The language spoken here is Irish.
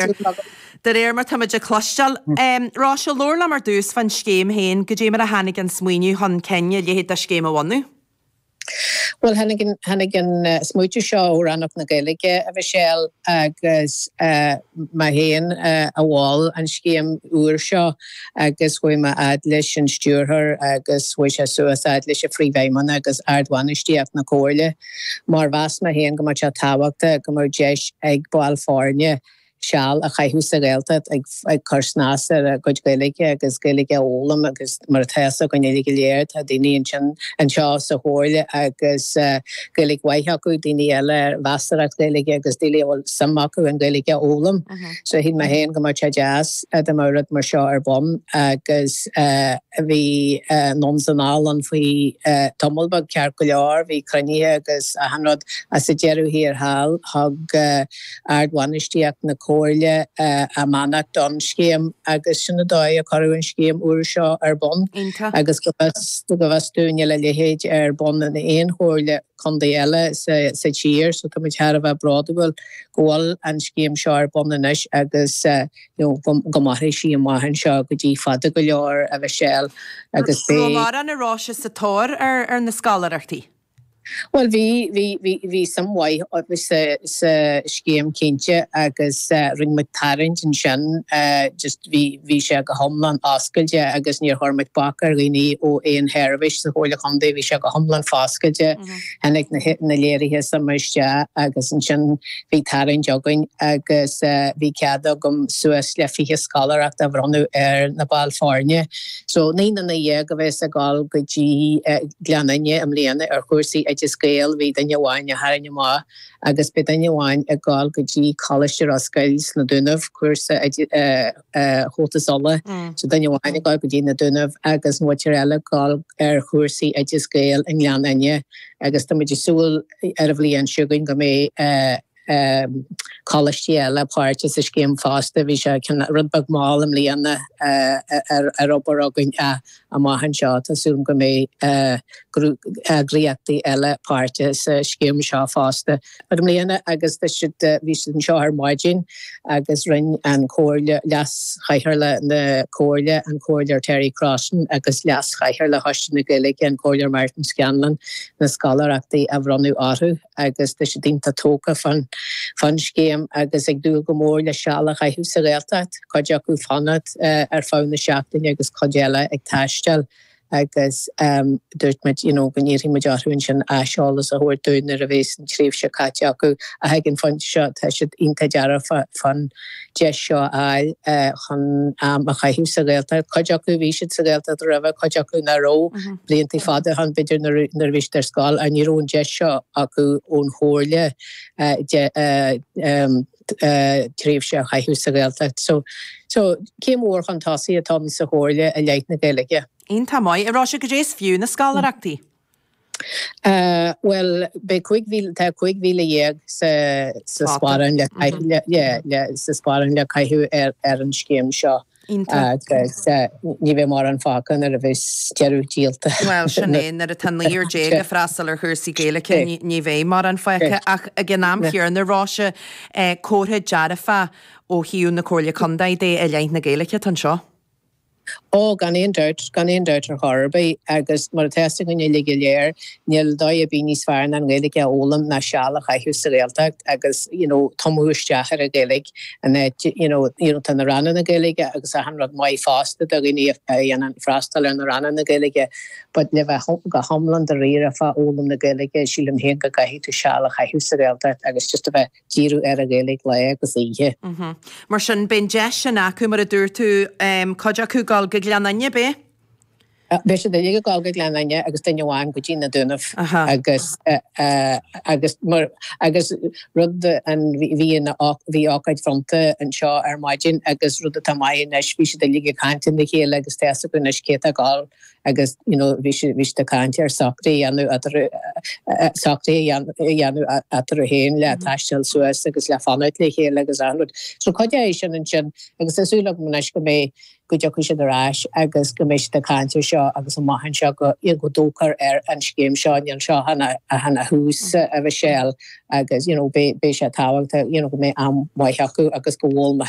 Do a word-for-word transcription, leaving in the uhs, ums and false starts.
De réir mar táimid ag cloisteáil. Róise, labhair liom ar dtús fán scéim féin, goidé mar a tháinig an smaoineamh chun cinn a leithéid de scéim a bhunú. Well tháinig an tháinig an smaoitiú seo ó Rannóg na Gaeilge a Mhichelle agus mé féin a mhol an scéim úr seo agus chuaigh mé fhad leis an stiúrthóir agus chuaigh sé suas fhad leis an phríomhfheidhmeannach agus ardbhainistíocht na Comhairle mar mheas mé féin go mbeadh sé tábhachtach go mbeadh deis ag baill foirne seal a chaitheamh sa Ghaeltacht ag ag cur snas ar a gcuid Gaeilge agus Gaeilge a fhoghlaim agus mar atá a fhios againn uilig go léir tá daoine ansin anseo sa Chomhairle agus Gaeilge mhaith acu, daoine eile ar mheasarthacht Gaeilge agus daoine a bhfuil suim acu an Ghaeilge a fhoghlaim. So shíl mé féin go mbeadh sé deas dá mbeadh rud mar seo ar bun agus bhí anonn is anall ann faoi tamall beag ceart go leor, bhí cruinnithe agus achan rud ach sa deireadh thiar thall thug ardbhainistíocht na Comhairle a mbeannacht don scéim agus sin an dóigh a cuireadh an scéim úr seo ar bun agus go bhfios go bhfios dúinn níl a leithéid ar bun in aon chomhairle contae eile sa sa tír so tá muid thar a bheith bródúil go bhfuil an scéim seo ar bun anois agus you know go go mairfidh sí amach anseo go dtí fada go leor a Mhichelle agus beidh mórán a Róise sa tóir ar ar na scoláireachtaí. Bhuel bhí bhí bhí bhí suim mhaith sa sa scéim cinnte agus rinne muid tarraingt ansin just bhí bhí sé go hiomlán oscailte agus níor chuir muid bac ar dhaoine ó aon sheirbhís sa Chomhairle Chontae, bhí sé go hiomlán foscailte. Tháinig na na léirithe suime isteach agus ansin bhí tarraingt againn agus bhí cead agam suas le fiche scoláireacht a bhronnadh ar na baill foirne. So naoi nduine dhéag a bheas ag dul go dtí Gleann Fhinne i mbliana ar chúrsaí Oideas Gael, bhí duine amháin a tharraing amach agus beidh duine amháin ag dul go dtí Coláiste Ros Goill sna Dúnaibh, cúrsa Chomhaltas Uladh, so duine amháin ag dul go dtí na Dúnaibh agus an mhuintir eile ag dul ar chúrsaí Oideas Gael i nGleann Fhinne agus tá muid ag súil ar an bhliain seo chugainn go mbeidh coláistí eile páirteach sa scéim fosta. Bhí sé rud beag mall i mbliana ar ar obair againn amach anseo. Tá súil go mbeidh eagraíochtaí eile páirteach sa scéim seo fosta. But i mbliana agus tá siad bhí siad anseo ar maidin agus rinne an Comhairle Leas-Chathaoirleach na Comhairle, an Comhairleoir Terry Crossan agus Leas-Chathaoirleach Choiste na Gaeilge, an Comhairleoir Martin Scanlon, na scoláireachtaí a bhronnadh orthu agus tá siad iontach tógtha fán fán scéim agus ag dúil go mór le seal a chaitheamh sa Ghaeltacht, cuid acu fanacht ar feadh na seachtaine agus cuid eile ag taisteal agus dúirt muid you know go n-iarrfaidh muid orthu ansin aiseolas a thabhairt dúinn nuair a bheas an tréimhse caite acu ach ag an phointe seo tá siad iontach dearfa fán deis seo a fháil chun am a chaitheamh sa Ghaeltacht. Cuid acu bhí siad sa Ghaeltacht roimhe, cuid acu nach raibh blianta fada ann b'fhéidir nuair a bhí siad ar scoil ach ní raibh an deis seo acu ón Chomhairle tréimhse a chaitheamh sa Ghaeltacht. So so céim mhór chun tosaigh atá ann sa Chomhairle i leith na Gaeilge. Iontach maith. A Róise, goidé is fiú na scoláireachtaí? Bhuel beidh cúig mhíle tá cúig mhíle dhéag sa sa sparán le le le sa sparán le caitheamh ar ar an scéim seo. Agus ní bheidh mórán fágtha nuair a bheas deireadh díolta. Bhuel sin é, nuair atá naonúr déag ag freastal ar chúrsaí Gaeilge ní bheidh mórán fágtha ach ag an am chéanna Róise, comhartha dearfa ó thaobh na Comhairle Contae de i leith na Gaeilge atá anseo. Ó, gan aon dabht, gan aon dabht ar chor ar bith agus mar atá a fhios againn uilig go léir, níl dóigh ar bith níos fearr ná an Ghaeilge a fhoghlaim ná seal a chaitheamh sa Ghaeltacht agus you know tumadh isteach ar an Ghaeilge an áit you know you know tá na ranganna Gaeilge agus achan rud maith fosta do dhaoine a dhéanann freastal ar na ranganna Gaeilge but le bheith go hiomlán dáiríre fá fhoghlaim na Gaeilge sílim féin go gcaithfidh tú seal a chaitheamh sa Ghaeltacht agus just a bheith díriú ar an Ghaeilge lá agus oíche. Mar sin, beidh an deis sin acu, mar a dúirt tú, cuid acu dul go Gleann Fhinne, beidh? Beidh siad uilig ag dul go Gleann Fhinne agus duine amháin go dtí na Dúnaibh agus agus mar agus rud an bhí an bhí ócáid bhronnta anseo ar maidin agus rud atá maith anois bhí siad uilig ag caint lena chéile agus tá a fhios acu anois cé atá ag dul agus you know bhí siad bhí siad ag caint ar socruithe a dhéanamh eatarthu socruithe a dhéanamh eatarthu féin le taisteal suas agus le fanacht le chéile agus achan rud. So cuid é sin ansin agus tá súil agam anois go mbeidh go dtiocfaidh siad ar ais agus go mbeidh siad ag caint air seo agus amach anseo go go dtógfar ar an scéim seo níl seo ach an tús a Mhichelle agus you know beidh sé tábhachtach you know go mbeidh am maith acu agus go bhfuil